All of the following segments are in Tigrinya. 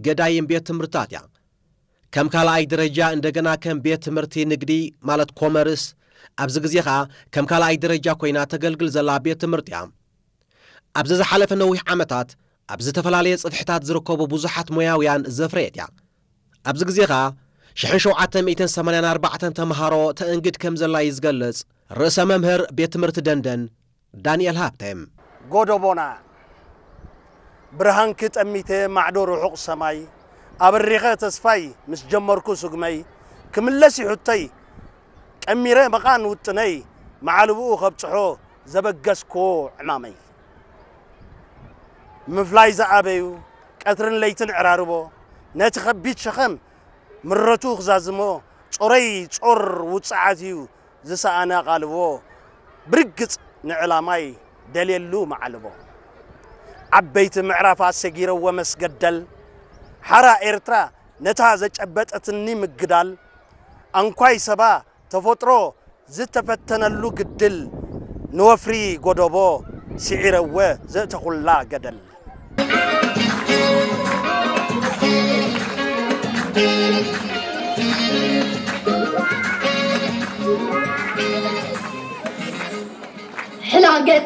ገዳይም ቤት ትምህርትታት እያ። ከም ካልኣይ ደረጃ እንደገና ከም ቤት ትምህርቲ ንግዲ ማለት ኮመርስ፣ ኣብዚ ግዜ ኸኣ ከም ካልኣይ ደረጃ ኮይና ተገልግል ዘላ ቤት ትምህርቲ እያ። ኣብዚ ዝሓለፈ ነዊሕ ዓመታት ኣብ ዝተፈላለየ ጽፍሕታት ዝርከቡ ብዙሓት ሞያውያን ዘፍረየት እያ። ኣብዚ ግዜ ኸኣ ሽሕን ሸውዓተ ሚእትን ሰማንያን ኣርባዕተን ተምሃሮ ተእንግድ ከም ዘላ እዩ ዝገልጽ ርእሰ መምህር ቤት ትምህርቲ ደንደን ዳንኤል ሃብተ። ጎደቦና ብርሃንኪ ጠሚተ ማዕዶ ርሑቕ ሰማይ፣ ኣበሪኸ ተስፋይ ምስ ጀመርኩ ስጉመይ፣ ክምለስ እዩ ሕቶይ ቀሚረ መቓን ውጥነይ፣ መዓልብኡ ከብጽሖ ዘበገስክዎ ዕማመይ። ምፍላይ ዝኣበዩ ቀትርን ለይትን ዕራርቦ፣ ነቲ ከቢድ ሸኸም ምረቱ ክዛዝሞ፣ ጾረይ ጾር ውጽዓት እዩ ዝሰኣነ ኣቓልቦ፣ ብርግጽ ንዕላማይ ደልየሉ መዓልቦ። ዓበይቲ ምዕራፋት ሰጊረዎ መስገደል፣ ሓራ ኤርትራ ነታ ዘጨበጠትኒ ምግዳል፣ ኣንኳይ ሰባ ተፈጥሮ ዝተፈተነሉ ግድል፣ ንወፍሪ ጎደቦ ስዒረወ ዘእተኹላ ገደል። ሕላገት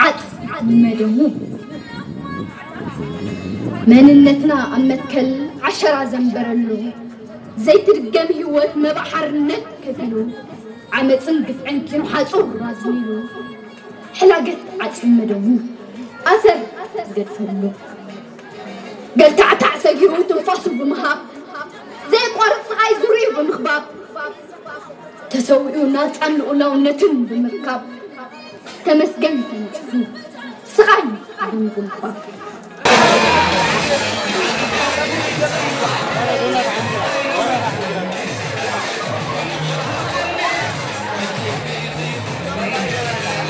ዓጽ መደሙ መንነትና ኣብ መትከል ዓሸራ ዘንበረሉ ዘይትድገም ህይወት መባእ ሓርነት ከፊሉ ዓመፅን ግፍዕን ኪኖ ሓፁር ኣዝሚሉ ሕላገት ዓጽ መደሙ ኣሰር ዝገድፈሉ ገልታዕታዕ ሰጊሩ ትንፋሱ ብምሃብ ዘየቋርፅ ስቓይ ዙርዩ ብምኽባብ ተሰዊኡ ናፃን ልኡላውነትን ብምርካብ ተመስገን ተነፂፉ ስቓይ ብምጉልባብ።